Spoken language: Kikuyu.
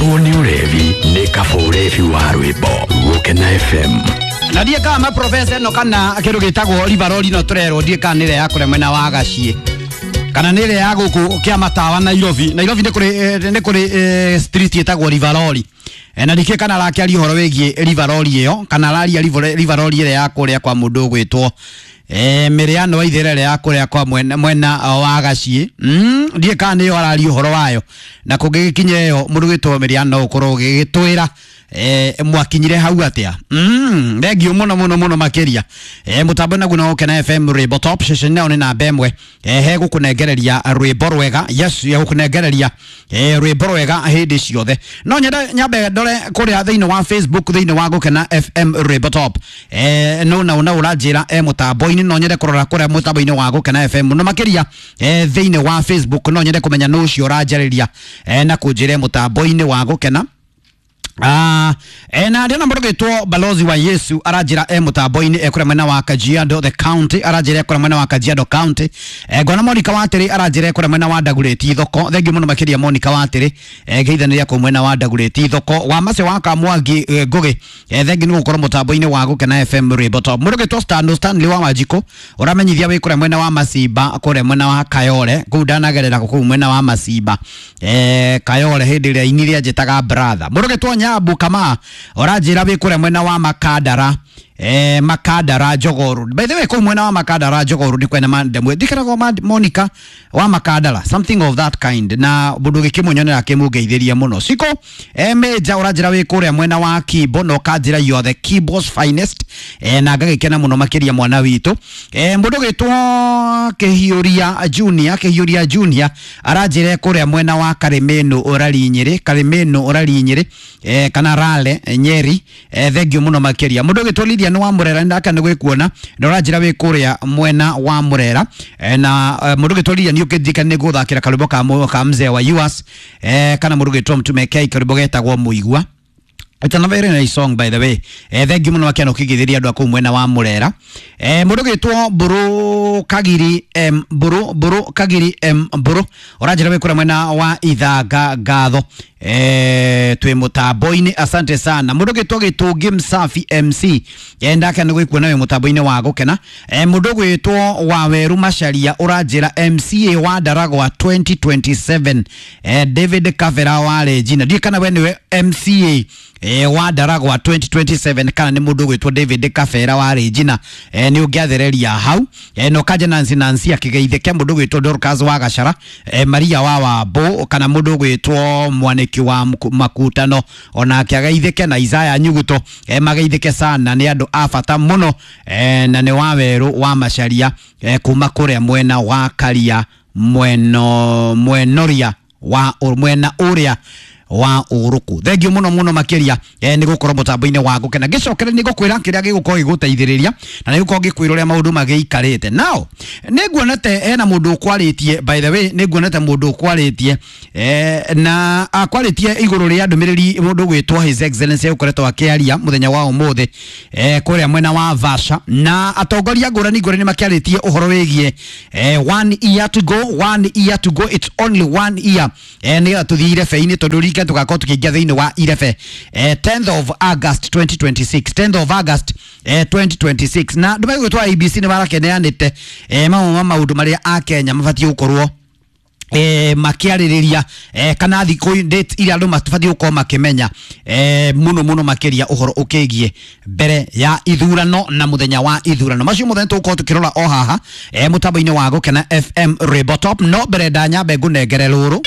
Kũhũrwo nĩ ũrevi nĩ kaba ũrevi wa rwĩmbo. Gũkena FM. Na ndiä kana maprofesa ĩno kana kĩndũ gĩtagwo rivarori no tũrerwo ndiä kana nĩ ĩrĩa ya kũrĩa mwena wa Gaciĩ kana nĩ ĩrĩa ya gũkũ kĩa matawa Nairobi. Nairobi nĩ kũrĩ nĩ kũrĩ street ĩtagwo Rivarori. Na ndikĩũĩ kana arakĩaria ũhoro wĩgiĩ Rivarori ĩyo kana araria Rivarori ĩrĩa ya kũrĩa kwa mũndũ ũgwĩtwo Mĩrĩano wa Ithĩra ĩrĩa ya kũrĩa kwa mwena wa Gaciĩ. Ndiũĩ kana nĩyo araria ũhoro wayo, na kũngĩgĩkinya ĩyo mũndũ ũgwĩtwo Mĩrĩano ũkorwo ũgĩgĩtwĩra mwakinyire hau atia. Thengio muno muno muno makiria. Mutambo naguo na Gũkena FM Rwĩmbo Top session nayo nĩ namba ĩmwe he gũkũnengereria rwĩmbo rwega. Yes, ya gũkũnengereria rwĩmbo rwega hĩndĩ ciothe. No nyende nyambe ndore kũrĩa thĩinĩ wa Facebook, thĩinĩ wa Gũkena FM Rwĩmbo Top. No na na ũranjĩra mũtambo-inĩ, no nyende kũrora kũrĩa mũtambo-inĩ wa Gũkena FM mũno makĩria thĩinĩ wa Facebook. No nyende kũmenya nũ ũcio ũranjarĩria na kũnjĩra mũtambo-inĩ wa Gũkena. Na ndĩona mũndũ ũgwĩtwo Balozi wa Yesu aranjĩra mũtambo-inĩ kũrĩa mwena wa Kajiado the county, aranjĩra kũrĩa mwena wa Kajiado county. Ngona Monica Watĩrĩ aranjĩra kũrĩa mwena wa Ndagurĩti thoko. Thengiũ mũno makĩria Monica Watĩrĩ, ngeithanĩria kũu mwena wa Ndagurĩti thoko. Wa Mace wa Kamwangi Ngũgĩ, thengiũ nĩ gũkorwo mũtambo-inĩ wa Gũkena FM Rwĩmbo Top. Mũndũ ũgwĩtwo Stanley wa Wanjikũ ũramenyithia wĩ kũrĩa mwena wa Macimba, kũrĩa mwena wa Kayole kũu ndanagerera kũu mwena wa Macimba, Kayole hĩndĩ ĩrĩa inire anjĩtaga brother. Mũndũ ũgwĩtwo Nyabu Kama ũranjĩra wĩ kũrĩa mwena wa Makandara, Makandara Jogoo. By the way, kũu mwena wa Makandara Jogoo nĩ kwena mandemwe ndikaragwo Monica wa Makandara, something of that kind, na mũndũ gĩkĩmunyonera akĩmũngeithĩria mũno. Ciko Meja ũranjĩra wĩ kũrĩa mwena wa Kimbo na ũkanjĩra you are the Kimbo's finest, na ngagĩkena mũno makĩria mwana witũ. Mũndũ gĩtwo Kĩhiũria Junior, Kĩhiũria Junior aranjĩra kũrĩa mwena wa Karimeno ũrari Nyĩrĩ, Karimeno ũrari Nyĩrĩ, kana Rale Nyeri, thengio mũno makĩria. Mũndũ gĩtwo Lilian wa Murera ndaka nĩ gwĩkuona na ũranjĩra wĩ kũrĩa mwena wa Murera, na mũndũ gĩtwo Lilian ũkĩnjika nĩ gũthakĩra karwĩmbo ka mzee wa US, kana mũndũ gĩtwo Mtume K karwĩmbo getagwo Mũigua. It's a very nice song, by the way. Thank you muno makĩria ũkĩngĩthĩria andũ a kũu mwena wa Murera. Mũndũ gĩtwo Mbũrũ Kagiri M Mbũrũ, Mbũrũ Kagiri M Mbũrũ ũranjĩra wĩ kũrĩa mwena wa Ithanga Ngatho. Twĩ mũtambo-inĩ, asante sana. Mũndũ gĩtwo Gĩtũngĩ Msafi MC, ndake nĩ gwĩkuona wĩ mũtambo-inĩ wa Gũkena. Mũndũ gwĩtwo Waweru Macharia ũranjĩra MCA wa Ndaragwa 2027, David Kavera wa Regina. Ndiũĩ kana we nĩwe MCA wa Ndaragwa 2027 kana nĩ mũndũ ũgwĩtwo David Kabera wa Regina. Nĩ ũngĩathereria hau. Na ũkanja Nancy Nancy akĩgeithĩke, mũndũ ũgwĩtwo Dorcas wa Gachara, Maria wa Wambũ kana mũndũ ũgwĩtwo Mwanĩki wa Makutano onake ageithĩke, na Isaya Nyuguto, mageithĩke sana, nĩ andũ a bata mũno, na nĩ Wawerũ wa Macharia, kuma kũrĩa mwena wa Karia mweno mwenoria wa mwena ũrĩa wa ũrũkũ. Thengio mũno mũno makĩria nĩ gũkorwo mũtambo-inĩ wa Gũkena. Ngĩcokere nĩ ngũkwĩra kĩrĩa gĩgũkorwo gĩgũteithĩrĩria na nĩ gũkorwo ngĩkwĩra ũrĩa maũndũ magĩikarĩte. Now nĩ nguonete hena mũndũ ũkwarĩtie, by the way nĩ nguonete mũndũ ũkwarĩtie, na akwarĩtie igũrũ rĩa ndũmĩrĩri mũndũ ũgwĩtwo His Excellency ũkoretwo akĩaria mũthenya wa ũmũthĩ, kũrĩa mwena wa Vasha, na atongoria ngũrani ngũrani makĩarĩtie ũhoro wĩgiĩ 1 year to go, 1 year to go, it's only 1 year, nĩgetha tũthiĩ irebe-inĩ tondũ rika tũgakorwo tũkĩingĩra thĩinĩ wa irebe, 10th of August 2026, 10th of August 2026. Na ndũmĩrĩri gwĩtwo IEBC nĩ marakeneanĩte mamwe ma maũndũ marĩa akenya mabatiĩ gũkorwo makiarĩrĩria, kana thikũ date iria andũ mabatiĩ gũkorwo makĩmenya, mũno mũno makĩria ũhoro ũkĩgiĩ mbere ya ithurano na mũthenya wa ithurano. Macio mothe tũgũkorwo tũkĩrora o haha, mũtambo-inĩ wa Gũkena FM Rwĩmbo Top. No mbere ndanyambe ngũnengere rũrũ.